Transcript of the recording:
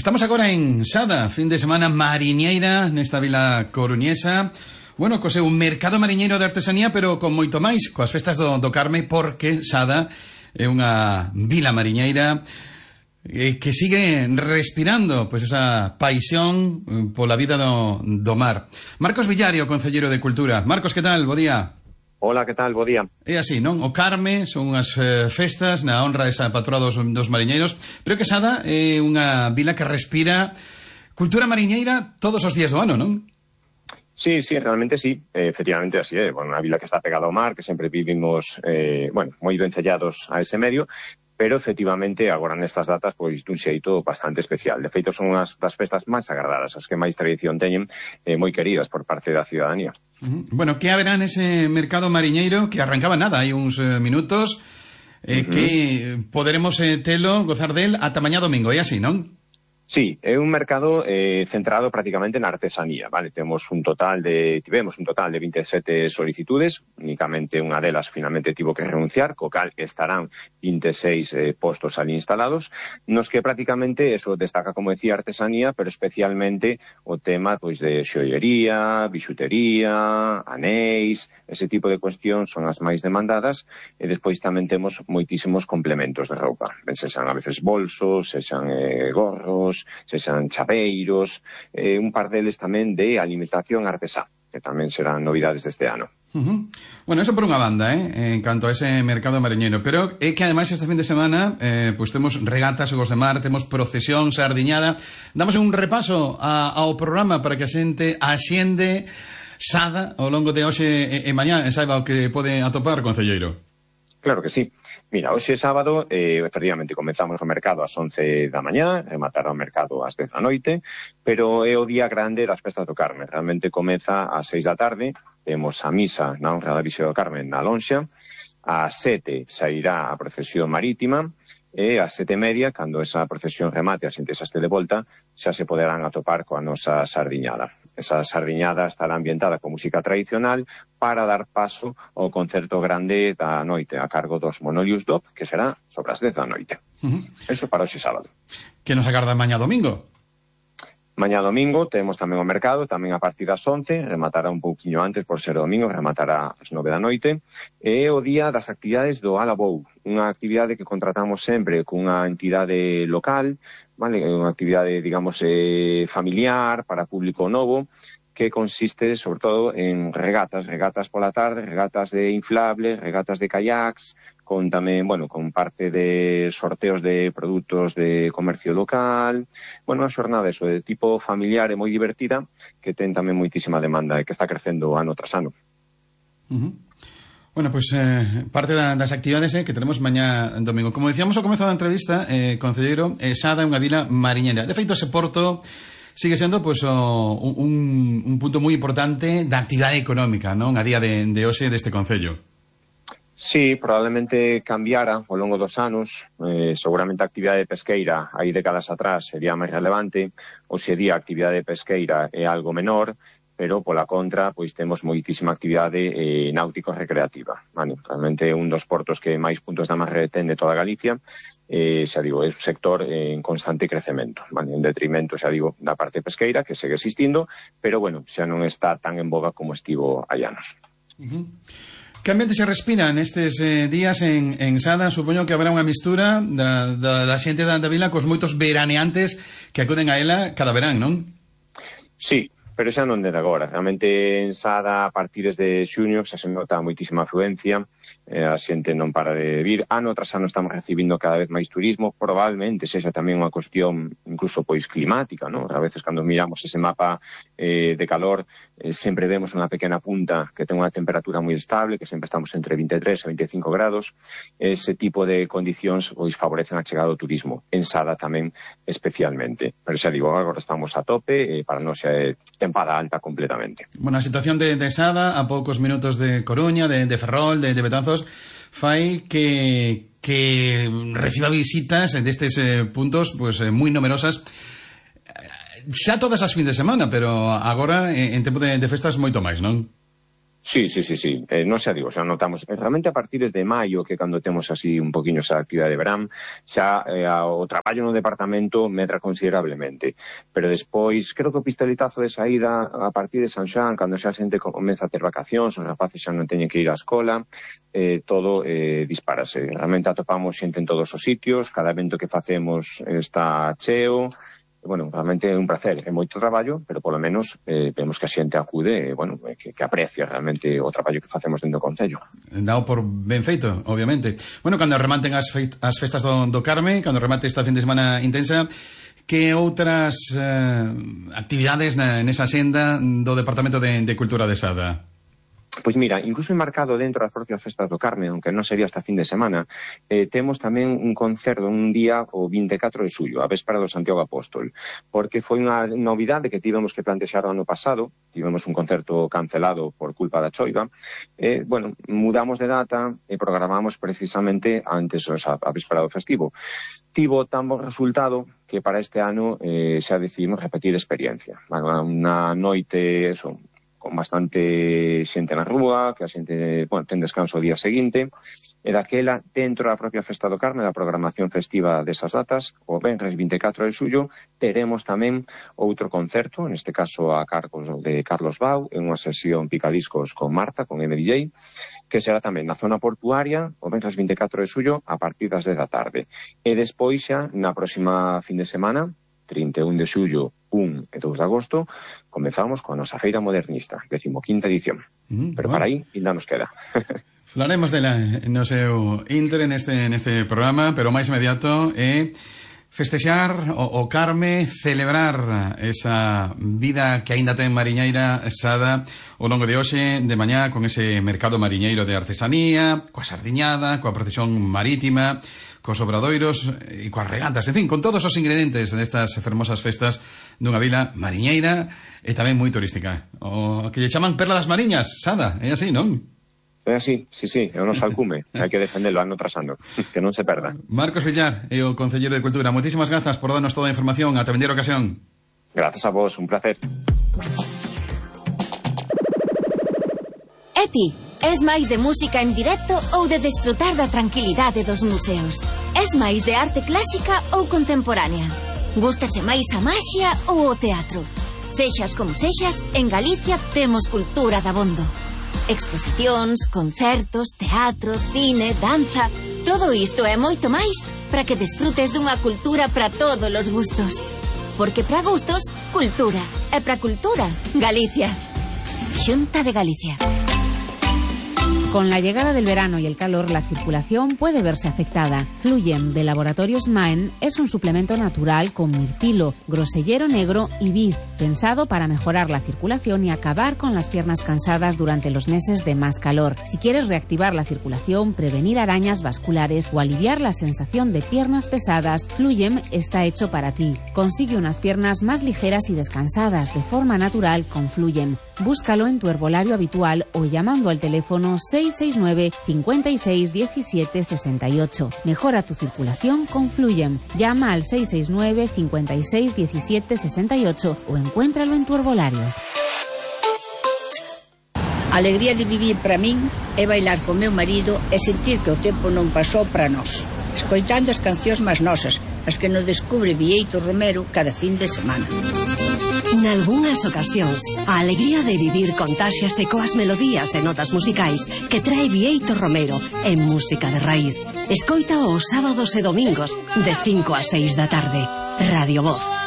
Estamos agora en Sada, fin de semana mariñeira nesta vila coruñesa. Bueno, co seu mercado mariñeiro de artesanía, pero con moito máis, coas festas do Carme, porque Sada é unha vila mariñeira que sigue respirando pois esa paixón pola vida do mar. Marcos Villario, concelleiro de Cultura. Marcos, que tal? Bo día. Hola, que tal? Bo día. É así, non? O Carme son unhas festas na honra desa patroa dos mariñeiros, pero que Sada é unha vila que respira cultura mariñeira todos os días do ano, non? Sí, realmente sí, efectivamente así é. Bueno, unha vila que está pegada ao mar, que sempre vivimos, moi vencellados a ese medio, pero efectivamente agora nestas datas pois dun xeito bastante especial. De feito son unhas das festas máis agradadas, as que máis tradición teñen, moi queridas por parte da ciudadanía. Bueno, que haberá nese mercado mariñeiro que arrancaba nada, hai uns minutos, que poderemos telo, gozar del ata mañá domingo, é así, non? Sí, é un mercado centrado prácticamente na artesanía, vale? Tivemos un total de 27 solicitudes, únicamente unha delas finalmente tivo que renunciar, co cal estarán 26 postos ali instalados, nos que prácticamente eso destaca, como decía, artesanía, pero especialmente o tema pois de xoiería, bixutería, anéis, ese tipo de cuestións son as máis demandadas, e despois tamén temos moitísimos complementos de roupa, ben sexan a veces bolsos, sexan gorros, sexan chaveiros, un par deles tamén de alimentación artesá, que tamén serán novidades deste ano. Bueno, eso por unha banda, en canto a ese mercado mariñeiro, pero é que ademais este fin de semana pois temos regatas, xogos de mar, temos procesión, sardiñada. Damos un repaso ao programa para que a xente axende Sada ao longo de hoxe e mañá e saiba o que pode atopar, concelleiro. Claro que sí. Mira, hoxe sábado, efectivamente, comezamos o mercado ás 11 da mañá, rematará o mercado ás 10 da noite, pero é o día grande das festas do Carme. Realmente comeza ás 6 da tarde, temos a misa na honra da Virxe do Carme na Lonxa, ás 7 sairá a procesión marítima, e ás 7:30, cando esa procesión remate, a xente xa este de volta, xa se poderán atopar coa nosa sardiñada. Esa sardiñada estará ambientada con música tradicional para dar paso ao concerto grande da noite a cargo dos Monolius Dop, que será sobre as 10 da noite. Eso para hoxe sábado. Que nos agarda mañá domingo? Mañá domingo temos tamén o mercado, tamén a partir das 11, rematará un pouquiño antes por ser domingo, rematará ás 9 da noite, e o día das actividades do Alabou, unha actividade que contratamos sempre cunha entidade local, vale? Unha actividade, digamos, familiar, para público novo, que consiste, sobre todo, en regatas pola tarde, regatas de inflables, regatas de kayaks, con tamén, con parte de sorteos de produtos de comercio local, unha xornada eso, de tipo familiar e moi divertida, que ten tamén moitísima demanda e que está crecendo ano tras ano. Bueno, pues parte das actividades que tenemos mañá domingo. Como decíamos ao comezo da entrevista, concelleiro, Sada é unha vila mariñeira. De feito, ese porto sigue sendo pues, un punto moi importante da actividade económica, non? A día de hoxe deste concello. Sí, probablemente cambiara ao longo dos anos. Seguramente a actividade pesqueira hai décadas atrás sería máis relevante. Hoxe día a actividade pesqueira é algo menor, pero pola contra pois temos moitísima actividade náutico-recreativa. Vale, realmente é un dos portos que máis puntos de amarre ten de toda Galicia. Xa digo, é un sector en constante crecemento, vale? En detrimento, xa digo, da parte pesqueira, que segue existindo, pero xa non está tan en boga como estivo hai anos. Que ambiente se respira nestes días en Sada? Supoño que habrá unha mistura da xente da vila cos moitos veraneantes que acuden a ela cada verán, non? Sí, pero xa non de agora. Realmente en Sada, a partir de xuño, xa se nota moitísima afluencia, a xente non para de vir. Ano tras ano estamos recibindo cada vez máis turismo, probablemente sexa tamén unha cuestión incluso pois climática, non? A veces cando miramos ese mapa de calor, sempre vemos unha pequena punta que ten unha temperatura moi estable, que sempre estamos entre 23 e 25 grados. Ese tipo de condicións pois favorecen a chegada do turismo. En Sada tamén especialmente. Pero xa digo, agora estamos a tope, para nós xa é tempada alta completamente. Bueno, a situación de Sada, a poucos minutos de Coruña, de Ferrol, de Betanzos, fai que reciba visitas destes puntos pues moi numerosas xa todas as fins de semana, pero agora en tempo de festas moito máis, non? Sí. Non se digo, xa notamos realmente a partir de maio, que cando temos así un poquinho esa actividade de verán, xa o traballo no departamento medra considerablemente, pero despois creo que o pistoletazo de saída a partir de San Xoán, cando xa a xente comeza a ter vacacións, os rapaces xa non teñen que ir á escola, todo dispárase. Realmente atopamos xente en todos os sitios, cada evento que facemos está cheo. Bueno, realmente é un placer, é moito traballo, pero polo menos vemos que a xente acude, bueno, que aprecia realmente o traballo que facemos dentro do Concello. Dao por ben feito, obviamente. Bueno, cando rematen as festas do Carme, cando remate esta fin de semana intensa, que outras actividades nesa senda do Departamento de Cultura de Sada? Pois mira, incluso enmarcado dentro das propias festas do Carme, aunque non sería esta fin de semana, temos tamén un concerto un día o 24 de xullo, a véspera do Santiago Apóstol, porque foi unha novidade que tivemos que plantexar o ano pasado, tivemos un concerto cancelado por culpa da choiva, bueno, mudamos de data e programamos precisamente antes a véspera do festivo. Tivo tan bon resultado que para este ano xa decidimos repetir experiencia. Unha noite, con bastante xente na rúa, que a xente, bueno, ten descanso o día seguinte, e daquela, dentro da propia Festa do Carme, da programación festiva desas datas, o venres 24 de xullo, teremos tamén outro concerto, neste caso a cargos de Carlos Bau, en unha sesión picadiscos con Marta, con MDJ, que será tamén na zona portuaria, o venres 24 de xullo, a partir das 10 da tarde. E despois xa, na próxima fin de semana, 31 de xullo, 1 e 2 de agosto, comezamos con a nosa Feira Modernista, 15ª edición. Pero bueno, para aí ainda nos queda. Falaremos dela no seu inter neste programa, pero o máis inmediato é festexar o Carme, celebrar esa vida que aínda ten mariñeira Sada ao longo de hoxe, de mañá, con ese mercado mariñeiro de artesanía, coa sardiñada, coa procesión marítima, cos obradoiros e coas regatas, en fin, con todos os ingredientes destas fermosas festas dunha vila mariñeira e tamén moi turística. O que lle chaman Perla das Mariñas, Sada, é así, non? É así, sí, é o noso alcume, hai que defendelo ano tras ano, que non se perda. Marcos Villar e o Concelleiro de Cultura, moitísimas grazas por darnos toda a información, ata vindeira ocasión. Grazas a vos, un placer. E ti, es máis de música en directo ou de desfrutar da tranquilidade dos museos? Es máis de arte clásica ou contemporánea? Gústache máis a maxia ou o teatro? Sexas como sexas, en Galicia temos cultura dabondo. Exposicións, concertos, teatro, cine, danza... Todo isto e moito máis para que desfrutes dunha cultura para todos os gustos. Porque para gustos, cultura. E para cultura, Galicia. Xunta de Galicia. Con la llegada del verano y el calor, la circulación puede verse afectada. Fluyem de Laboratorios Maen es un suplemento natural con mirtilo, grosellero negro y vid, pensado para mejorar la circulación y acabar con las piernas cansadas durante los meses de más calor. Si quieres reactivar la circulación, prevenir arañas vasculares o aliviar la sensación de piernas pesadas, Fluyem está hecho para ti. Consigue unas piernas más ligeras y descansadas de forma natural con Fluyem. Búscalo en tu herbolario habitual o llamando al teléfono 669 56 17 68. Mejora tu circulación con Fluyem. Llama al 669 56 17 68 o encuéntralo en tu herbolario. A alegría de vivir para min é bailar con meu marido e sentir que o tempo non pasou para nós, escoitando as cancións máis nosas, as que nos descubre Bieito Romero cada fin de semana. Nalgúnas ocasións, a alegría de vivir contáxiase coas melodías e notas musicais que trae Bieito Romero en música de raíz. Escoita os sábados e domingos de 5 a 6 da tarde. Radio Voz.